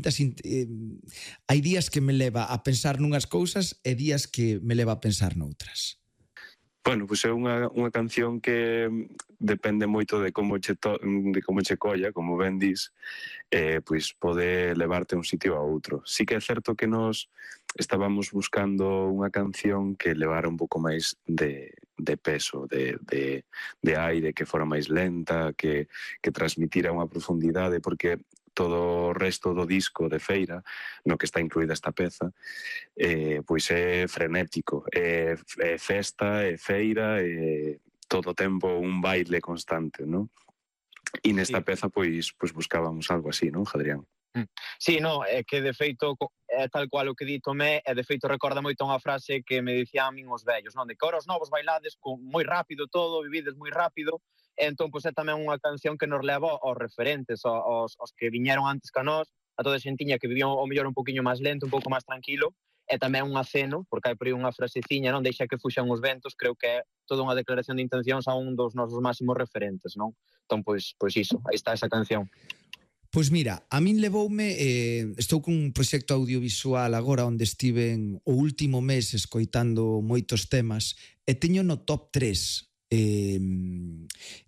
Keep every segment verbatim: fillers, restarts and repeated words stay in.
eh, hai días que me leva a pensar nunhas cousas e días que me leva a pensar noutras. Bueno, pois é unha, unha canción que depende moito de como che, to, de como che colla, como ben dis, eh, pois pode levarte a un sitio a outro. Sí que é certo que nos estábamos buscando unha canción que levara un pouco máis de, de peso, de, de, de aire, que fora máis lenta, que, que transmitira unha profundidade, porque todo o resto do disco de Feira, no que está incluída esta peza, eh, pois é frenético, é, é festa, é feira, é todo o tempo un baile constante, non? E nesta Sí. peza, pois, pois buscábamos algo así, non, Jadrián? Sí, no, é que de feito é tal cual o que di Tomé, e de feito recorda moito unha frase que me dicían a min os vellos, non? De que ahora os novos bailades con moi rápido todo, vivides moi rápido, e entón pois é tamén unha canción que nos leva aos referentes, aos, aos que viñeron antes que a nós, a toda a xentiña que vivía o mellor un poquinho máis lento, un pouco máis tranquilo, e tamén un aceno, porque hai por aí unha fraseciña, non? Deixa que fuxan os ventos, creo que é toda unha declaración de intencións a un dos nosos máximos referentes, non? Entón, pois, pois iso, aí está esa canción. Pois mira, a min levoume, eh, estou cun proxecto audiovisual agora onde estiven o último mes escoitando moitos temas e teño no top tres, eh,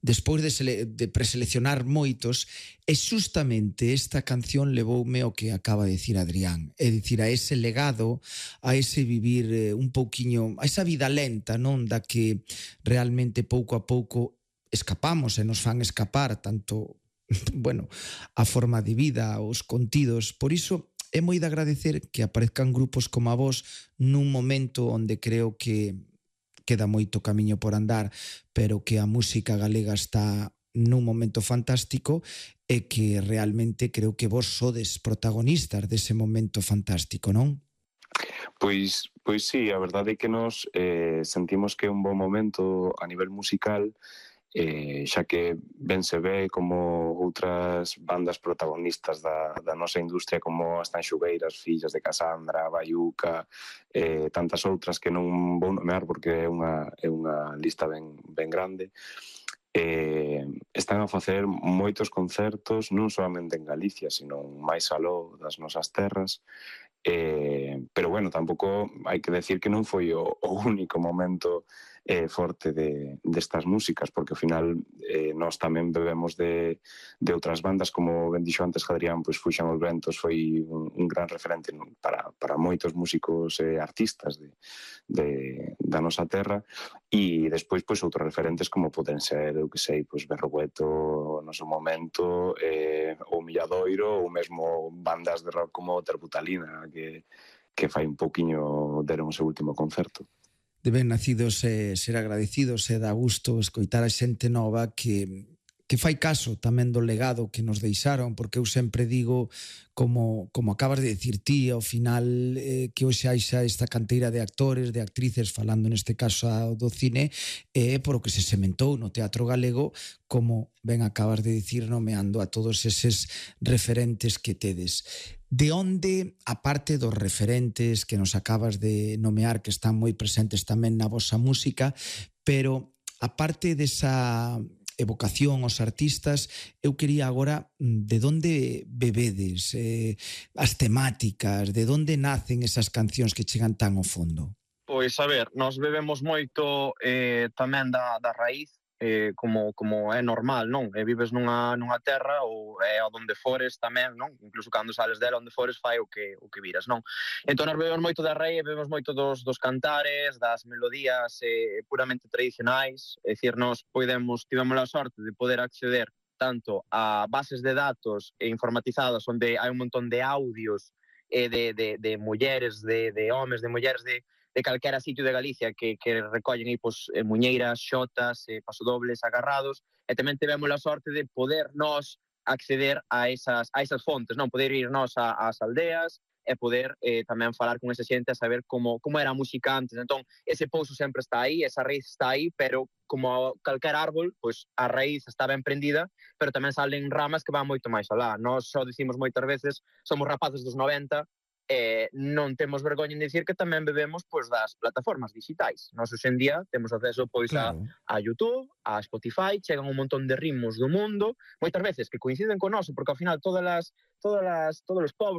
despois de, sele, de preseleccionar moitos, e xustamente esta canción levoume o que acaba de dicir Adrián, é dicir, a ese legado, a ese vivir eh, un pouquiño, a esa vida lenta, non, da que realmente pouco a pouco escapamos e nos fan escapar tanto, bueno, a forma de vida, os contidos. Por iso é moi de agradecer que aparezcan grupos como a vos nun momento onde creo que queda moito camiño por andar, pero que a música galega está nun momento fantástico e que realmente creo que vos sodes protagonistas dese momento fantástico, non? Pois, pois sí, a verdade é que nos eh, sentimos que é un bon momento a nivel musical, eh, xa que ben se ve como outras bandas protagonistas da, da nosa industria como as Tanxugueiras, Fillas de Casandra, Baiuca, eh, tantas outras que non vou nomear porque é unha, é unha lista ben, ben grande, eh, están a facer moitos concertos non solamente en Galicia, sino máis aló das nosas terras. Eh, pero bueno, tampouco hai que decir que non foi o, o único momento eh, forte de, destas músicas, porque ao final eh, nós tamén bebemos de, de outras bandas, como ben dixo antes Adrián, pois Fuxan os Ventos foi un, un gran referente para, para moitos músicos e eh, artistas de, de, da nosa terra, e despois pois outros referentes como poden ser, eu que sei, pois Berrogueto no seu momento, eh, o Milladoiro, ou mesmo bandas de rock como Terbutalina, que, que fai un pouquiño deron o seu último concerto. De ben nacidos e ser agradecidos e dá gusto escoitar a xente nova que, que fai caso tamén do legado que nos deixaron, porque eu sempre digo, como, como acabas de decir ti, ao final eh, que hoxe haixa esta canteira de actores, de actrices, falando neste caso do cine, é eh, por o que se sementou no teatro galego, como ben acabas de dicir, nomeando a todos eses referentes que tedes. De onde, aparte dos referentes que nos acabas de nomear, que están moi presentes tamén na vosa música, pero aparte desa evocación aos artistas, eu quería agora de onde bebedes, eh, as temáticas, de onde nacen esas cancións que chegan tan ao fondo? Pois, a ver, nós bebemos moito eh, tamén da, da raíz, eh, como, como é normal, non? E vives nunha, nunha terra ou é onde fores tamén, non? Incluso cando sales dela, onde fores fai o que, o que viras, non? Entón, nós bebemos moito da raíz, bebemos moito dos, dos cantares, das melodías eh, puramente tradicionais, é dicir, nós podemos, tivemos a sorte de poder acceder tanto a bases de datos e informatizadas onde hai un montón de audios eh, de, de, de mulleres, de, de homes, de mulleres, de de calquera sitio de Galicia que, que recollen aí pues, eh, muñeiras, xotas, eh, pasodobles, agarrados, e tamén tivemos a sorte de poder nós acceder a esas, a esas fontes, non poder ir nós ás aldeas e poder eh, tamén falar con esa xente a saber como, como era a música antes. Entón, ese pouso sempre está aí, esa raíz está aí, pero como calquer árbol, pois a raíz está ben prendida, pero tamén salen ramas que van moito máis alá. Nós só dicimos moitas veces, somos rapaces dos noventa, eh, non temos vergoña en dicir que tamén bebemos pois, das plataformas digitais. Nós hoxe en día temos acceso pois, claro. a, a YouTube, a Spotify, chegan un montón de ritmos do mundo, moitas veces que coinciden con noso, porque ao final todas as, todas as, todos os povos,